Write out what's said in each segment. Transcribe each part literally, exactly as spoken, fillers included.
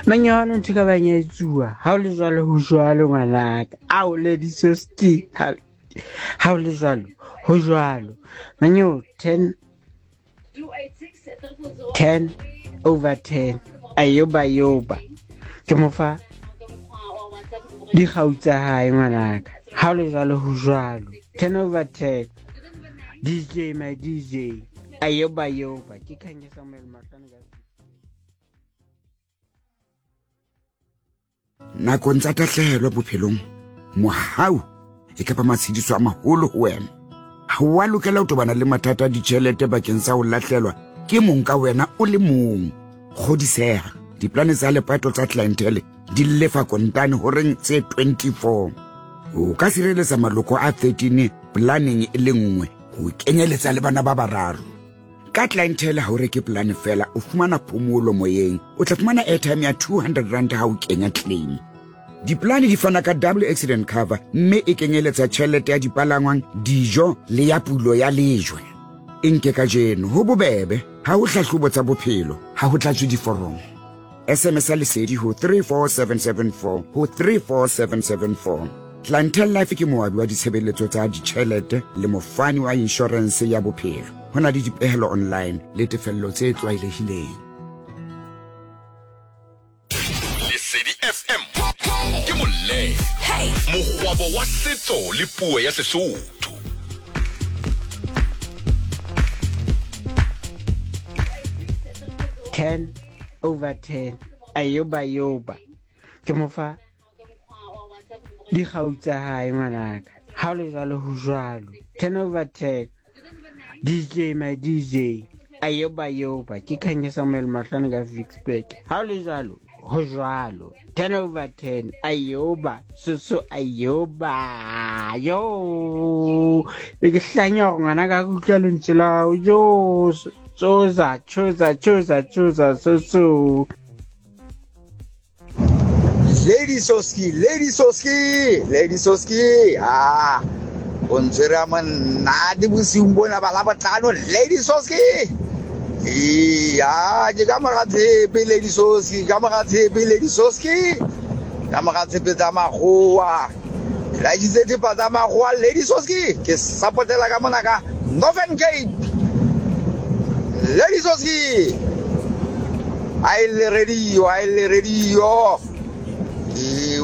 Manyano ntho ka bang ya etsuwa. Ha o le jwalo ho jwalo ngwanaka. Ao Lady Soski. Ha ha o le jwalo ho jwalo. Manyo ten ten over ten. Ayoba yoba. Ke mo fa dikgau tsa hae ngwanaka. Ha o le jwalo ho jwalo. ten over ten. D J my D J. Ayoba yoba. Ke Khanye Samuel Mahlane ka nakong tsa tahlehelo bophelong, mohau e kapa matshediso a maholo ho wena. Ha o a lokela ho tobana le mathata a ditjhelete bakeng sa ho lahlelwa ke mong ka wena o le mong. Kgodiseha, diplane tsa lepato tsa clientele di lefa kontane horeng tse twenty-four. O ka sireletsa maloko a thirteen planeng e le nngwe ho kenyeletsa le bana ba bararo. Ka clientele ha o reke plane fela, o fumana phomolo moyeng. O tla fumana airtime ya two hundred rand ha o kenya claim. Diplane di fana ka double accident cover mme e kenyeletsa tjhelete ya dipalangwang, dijo le ya pulo ya lejwe. E nke kajeno ho bobebe, ha ho hlahlobo tsa bophelo, ha ho tlatswe diforomo. S M S ya lesedi ho three four seven seven four ho three four seven seven four. Clientele Life ke moabi wa ditshebeletso tsa ditjhelete le mofani wa insurance ya bophelo. Ho na le dipehelo online le tefello tse tlwaelehileng. Lesedi F M ke molle mokgwabo wa setso le puo ya Sesotho. ten over ten. Ayoba yoba. Ke mo fa dikgau tsa hae ngwanaka. Ha o le jwalo ho jwalo. ten over ten. D J my D J. Ayoba yoba. Ke Khanye Samuel Mahlane ka Vicksburg. Ha o le jwalo ho jwalo. ten over ten. Ayoba soso ayoba. Yo. Ke hlanya hore ngwanaka ke utlwa lentswe la hao. Yo. Tsoza, tsoza, tsoza, tsoza, soso. Lady Soski, Lady Soski, Lady Soski. Ah, o ntshwere a monate bosiung bona ba Labohlano, Lady Soski. Iya, ke ka mora tshepe Lady Soski, ka mora tshepe Lady Soski. Ka mora tshepe tsa makgowa. Ke laeditse thepa tsa makgowa Lady Soski. Ke sapotela ka mona ka Northern Cape. Lady Soski. A e le radio, a e le radio.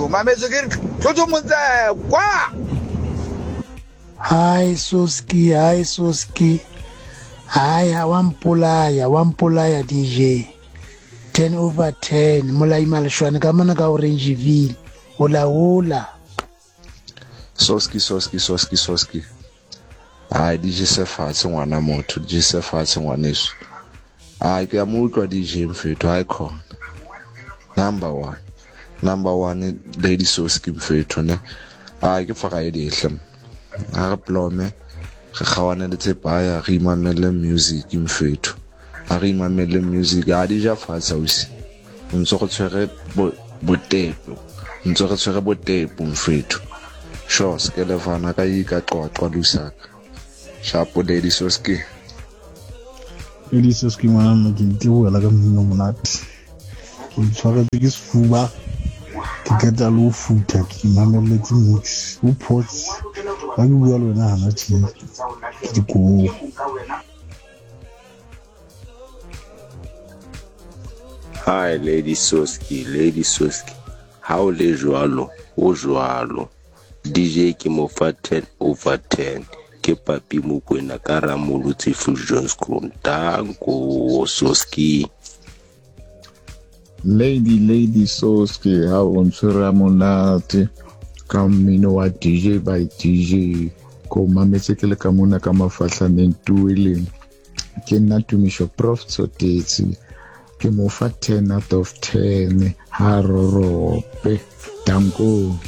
O mametse ke tlotso motse kwa. Hi Soski, hi Soski. Hi, ha wa mpolaya, wa mpolaya D J. ten over ten. Molai Maleshwane ka mona ka Orangeville. Hola hola. Soski, Soski, Soski, Soski. Ai D J se fatshe ngwana motho, D J se fatshe ngwaneso. Ai ke a mo utlwa D J mfethu, hai khona. Number one. Number one Lady Soski mfethu ne. Ai ke Friday hle. Ha re plome re kgawane le tsepaya re imamele music mfethu. Ha re imamele music ha di ja fatshe ausi. Ntse go tshwere botepo. Ntse re tshwere botepo mfethu. Sure skelefana ka ika qwaqwa Lusaka. Shapo Lady Soski. Lady Soski ngwana nna ke nteboela ka mmino monate. Ke tshwaretse ke sefuba. Ke qeta le ho futha ke mamelletse mix o pause ha ke bua le wena hana tje ke dikobo. Hi Lady Soski, Lady Soski. Ha o le jwalo, o jwalo. D J ke mo fa ten over ten. Ke Papi Mokwena ka Ramolotse Fusion Danko Soski. Lady Lady Soski, ha o ntshwere monate ka mmino wa D J by D J. Ko mametse ke le ka mona ka mafahlaneng tueleng. Ke nna Tumisho Prof Tsotetsi. Ke mo fa ten out of ten. Ha rorope. Danko.